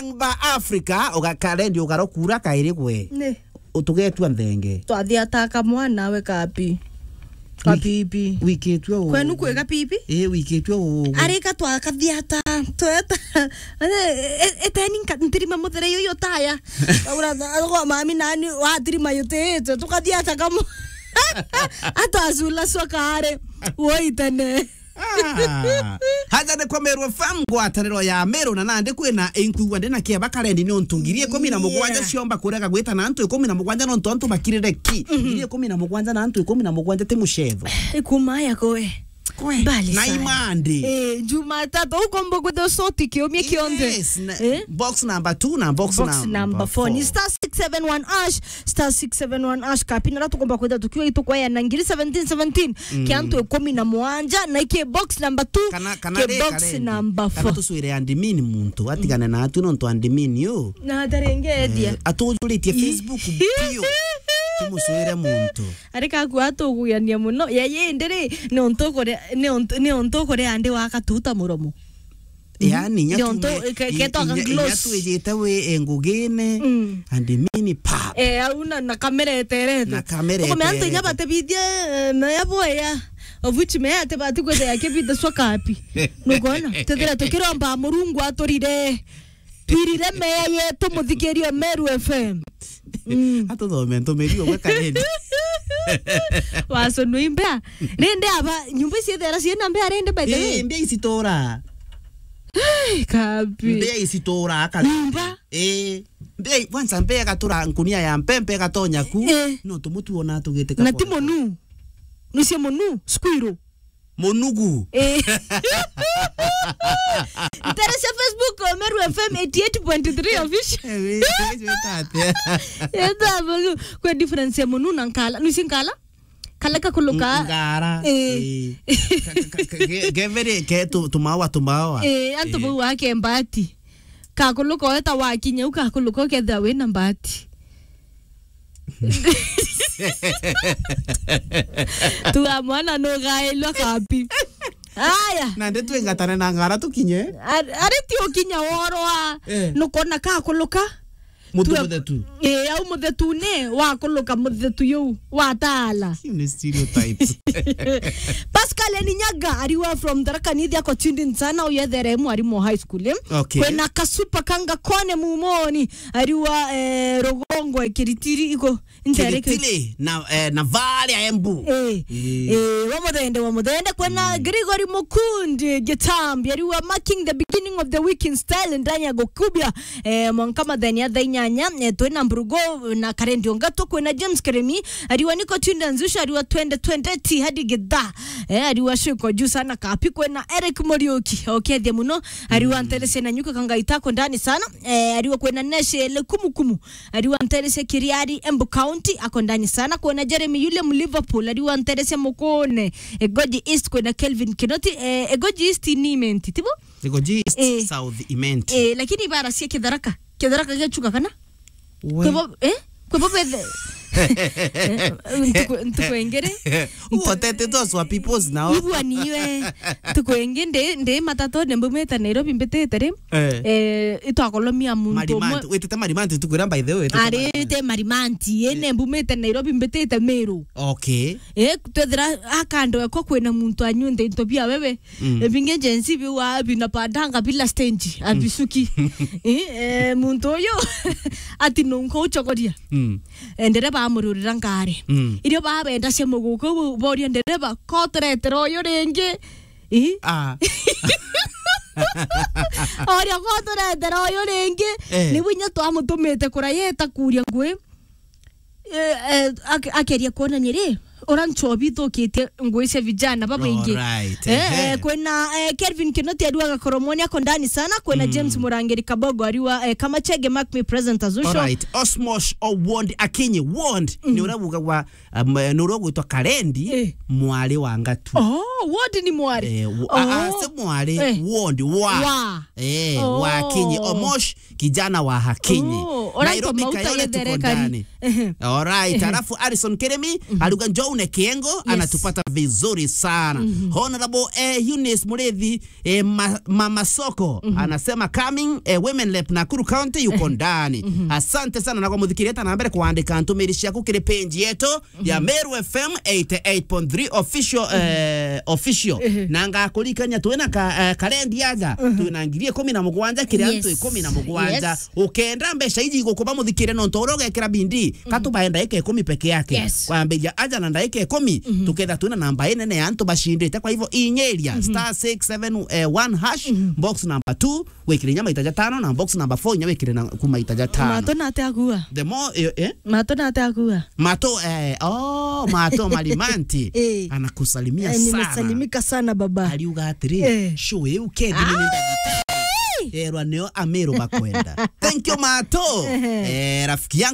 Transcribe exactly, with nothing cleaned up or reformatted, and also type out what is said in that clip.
Namba Africa, uga-, karendi ugarokura kairi gwe. Ni. Utugetua nthenge. Twathiata kamwana we kapi. Kapipi. Wikitwe u-, kwenu kwi kapipi? Ii, wikitwe u-, u-, arika twakathiata. Tweta. E-, e-, eteni nka-, ntirima muthere yuyu taya. Ura, ura, mami nani watirima yutite. Tukathiata kamu-, atwacula cwa kaari. Woitene. Ah. Haja ni kwa Meru F M, ngwataniro ya Meru, na nandi kwina inkuigua ndi na kieba karendi ni untu ngiri ikumi na mugwanja, yeah, ciomba kurega gwita na antu ikumi na mugwanja nontu antu bakirire ki. Mhm. Ngiri ikumi na mugwanja na antu ikumi na mugwanja ti mucetho. Ikuma ya koe. Kwe, mbali na sana. Imandi. Eh, Jumatatu, ukombo kwithirwa soti kiumia kionthe. Yes, na, eh? Box number two na box number four. Box number four. Ni star six seven one hash, star six seven one hash, kapi, na tukomba kwithirwa tukiwa itukwaya na ngiri seventeen seventeen, mm, kia antu ikumi na mugwanja, na iki box number two, kana, kana ki ri box karendi, number four. Kana tucwire admin muntu, atigane na atu nontu admin yu. Na atarengethia. Eh, atujuritie Facebook biu. Tumucwire muntu. Ari kaku atuguyania muno. Ya, ya, indi ri, ni untu ukure-, ni untu, ni untu ukuria ndi wa katuta muromo. Mhm. Yani, ni untu, ke-, i-, ketoka i-, gloss. Inya twijite wi, e, ngugine, mm, and mini pap. Eh, au na, na kamera eterete. Na kamera eterete. Ukomea antu inya batebithie, eh, meya boya. Of which meya atebati kwithia akibithia cwa kapi. Nukona? Tethira tukiromba Murungu aturire. Twirire meya yetu, muthikirie Meru F M. Mm. Atuthome ntumiri umwe karendi. Waconua imbea. Rindi aba, nyumba ici ithera ciina mbea rindi, by the way? Ii, mbea icitura. Ai, kabi. Mbea icitura, aka-, nyumba? Ii. Mbea, kwanza mbea igatura nkunia ya mpempe igatonya ku. Ii. No tumutu ona tugite. Na ti munu. Nucia munu, squirrel. Munugu. Eh. Ntere cia Facebook, Meru F M eighty eight point three official. Eh, we, we, we, tate. Yenda munu. Kwe difference ya munu na nkala. Nusi nkala? Kala kakuluka. Ng-, ngara. Eh. Eh. Ka-, ka-, ka-, ke-, kevere ke tu-, tumawa, tumawa. Eh, antu, eh, bau wake mbati. Kakuluka weta wakinya u kakuluka ukethira wina mbati. Tuga mwana nugailwa kapi. Aya. Na ndi twingatane na ngara tukinye. Ar-, ari ti ukinya worwa. Eh. Nukona kakuluka. Mutu muthetu. Eh, au muthetu ni wakuluka muthetu yu watala. Ni stereotypes. Pascal Ninyaga, ariwa from Tharaka Nithi, ako tuned in sana, uyethere mwarimu wa high school, eh? Okay. Kwina Kasupa Kanga Kone Mumoni, ariwa, eh, Rugongo, Kiritiri, iko, ntere Kiritiri, na, eh, na varia Embu. Eh, eh, wa muthende, wa muthende. Kwina, mm, Gregory Mukundi, Gitambi, ariwa marking the beginning of the week in style, ndani ya gukubia, eh, mwanka matheni ya thaa inyanya, eh, twina Mburugo na Karendi Ongatu, kwina James Keremi, ariwa niko tuned in Nzusha, ariwa twende, twende ti hadi githa. Eh, ariwa shiko juu sana kapi, kwina Eric Muriuki, okethia muno, ariwa, mm, ntere cia Nanyuka Kangaita ako ndani sana, eh, ariwa kwina Neshe Lekumukumu, ariwa ntere cia Kiriari, Embu County, ako ndani sana, kwina Jeremy William Liverpool, ariwa ntere cia Mukune, Egoji East, kwina Kelvin Kinoti, eh, Egoji East ni Imenti, tibo? Egoji East, eh, South Imenti. Eh, lakini ibara cia Kitharaka, Kitharaka giachuka kana? We. Kwibo, eh? Kwibo bethe. Eh, ntuku, ntuku ingiri. Uotete those were people's now. Ibua niwe. Ntuku ingi ndi, ndi matatone mbumite Nairobi mbitite ri. Eh. Eh, itwakolomia muntu umwe. Marimanti, witite Marimanti ntuku iria, by the way, witite Marimanti. Ari te Marimanti, eh, ne mbumite Nairobi mbitite Meru. Okay. Eh, twethira akando eko kwina muntu anyunthe into bia wewe. Mm. Ebinge Gen Z biwa bina padanga bila stage, mm, abisuki. Eh, eh, muntu uyu ati nunka uchokoria. Mm. Eh, ndereba amururira ngari. Mm. Irio babenda cia muguka u boria ndereba, "Ko turetera uyu ringi?" Ii? Ah. Oria, "Ko turetera uyu ringi?" Eh. Ni winya twamutumite kurayeta kuria ngui. Eh, eh, ak-, akeria kuonania ri, ura nchobi ithukitie ngui cia vijana babaingi. Alright, eh, ehe. Eh, kwina, eh, Kelvin Kinoti ariwa Gakoromoni ako ndani sana, kwina, mm, James Murangiri Kabogo ariwa, eh, Kamachege, mark me present as usual. Alright, Osmosh Owuondi Akinyi, Wond, mm, ni uria ugagwa, um, ni uria ugwitwa Karendi, eh, mwari wa Ngatu. Oh, Wond ni mwari? Eh, w-, a, a, oh, si mwari, eh, Wond, wa. Wa. Eh, oh. Wa Akinyi, Omosh, kijana wa Hakinyi. Oh, alright, Nairobi Mauta Kayole tuko Gethere Kari. Ndani. Ehe. Alright, ehe. Alafu Harrison Kirimi, mhm, aruga Jones Kiengo, anatupata vizuri sana. Honorable, eh, Eunice Murithi, eh, ma-, Mama Soko, anasema coming, eh, Women Rep Nakuru County yuko ndani. Asante sana na kwa muthikiriria, ta na mbere kuandika ntumiri ciaku kiri page yetu ya Meru F M eighty-eight point three official, eh, official. Na ngakurikania twina ka, eh, karendi aja, twina ngiri ikumi na mugwanja kiri antu ikumi na mugwanja. Ukenda mbeca iji igukuba muthikire nontu uria ugekira bindi, katubae ndaika ikumi peke yake. Kwambiria aja na ndaika ikumi, tuketha twina namba inene ya antu bacindite. Kwa hivyo inyiria star six seven one hash, box number two, wikire inya maita jatano, na box number four inya wikire na kuma ita jatano. Mato na ate akua. The more, eh, eh? Mato na ate akua. Mato, eh, oh, Mato Malimanti. Eh. Anakusalimia sana. Nimesalimika sana baba. Aliuga atiri, eh, show iu kendi ni ndagitari. Erwa nio Ameru bakwenda. Thank you, Mato. Eh, rafiki yangu.